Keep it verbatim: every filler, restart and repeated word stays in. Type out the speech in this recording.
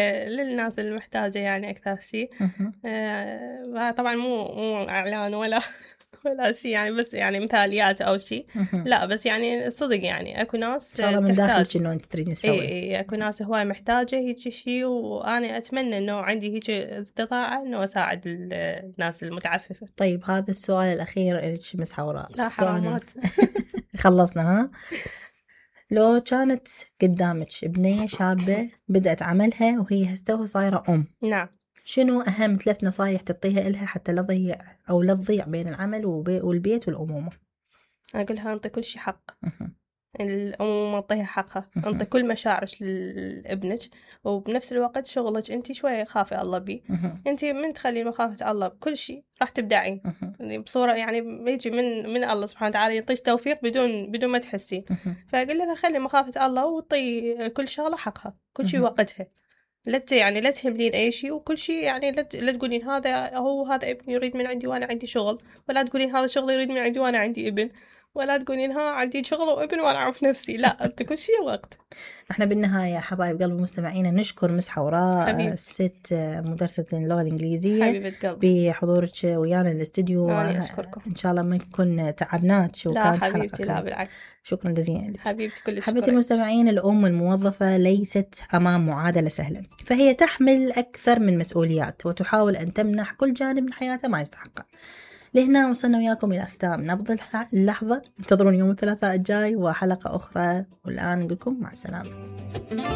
للناس المحتاجة يعني أكثر شيء. آه طبعا مو مو إعلان ولا ولا شيء يعني، بس يعني مثاليات أو شيء لا، بس يعني صدق يعني أكو ناس إن شاء الله من داخلك إنه أنت تريدين تسوي. إيه إيه أكو ناس هواي محتاجة هيك شيء، وأنا أتمنى إنه عندي هيك استطاعة إنه أساعد الناس المتعففة. طيب هذا السؤال الأخير إلك مس حوراء. لا حرامات. خلصنا ها. لو كانت قدامك بنية شابة بدأت عملها وهي هسه صايرة أم، نعم، شنو أهم ثلاث نصايح تعطيها إلها حتى لا تضيع أو لا تضيع بين العمل والبيت والأمومة؟ أقولها أنطي كل شيء حق. الأمومة أعطيها حقها، أنطي كل مشاعرك لابنك، وبنفس الوقت شغلك أنت شوية خافي الله بيه. أنت من تخلي مخافة الله بكل شيء راح تبدعين بصورة يعني بيجي من من الله سبحانه وتعالى يعطيك توفيق بدون بدون ما تحسين. فأقول لها خلي مخافة الله وطي كل شغلة حقها، كل شيء وقتها. لا يعني لا تهملين أي شيء، وكل شيء يعني لا لا تقولين هذا هو هذا ابني يريد من عندي وأنا عندي شغل، ولا تقولين هذا شغل يريد من عندي وأنا عندي ابن، ولا تقولين ها عندي شغل وابن وأنا أعرف نفسي. لا، أنت كل شيء وقت. احنا بالنهاية حبايب قلب مستمعينا نشكر مس حوراء الست مدرسة اللغة الإنجليزية حبيبة قلبي بحضورك ويانا الاستوديو. أنا أشكركم. إن شاء الله ما نكون تعبناك وكانت لا حبيبتي، لا بالعكس. شكرا جزيلا لك حبيبتي. كل حبيبتي المستمعين، الأم الموظفة ليست أمام معادلة سهلة، فهي تحمل أكثر من مسؤوليات وتحاول أن تمنح كل جانب من حياتها ما يستحقه. لهنا وصلنا وياكم إلى ختام نبض اللحظة. انتظرون يوم الثلاثاء الجاي وحلقة أخرى، والآن نقولكم مع السلامة.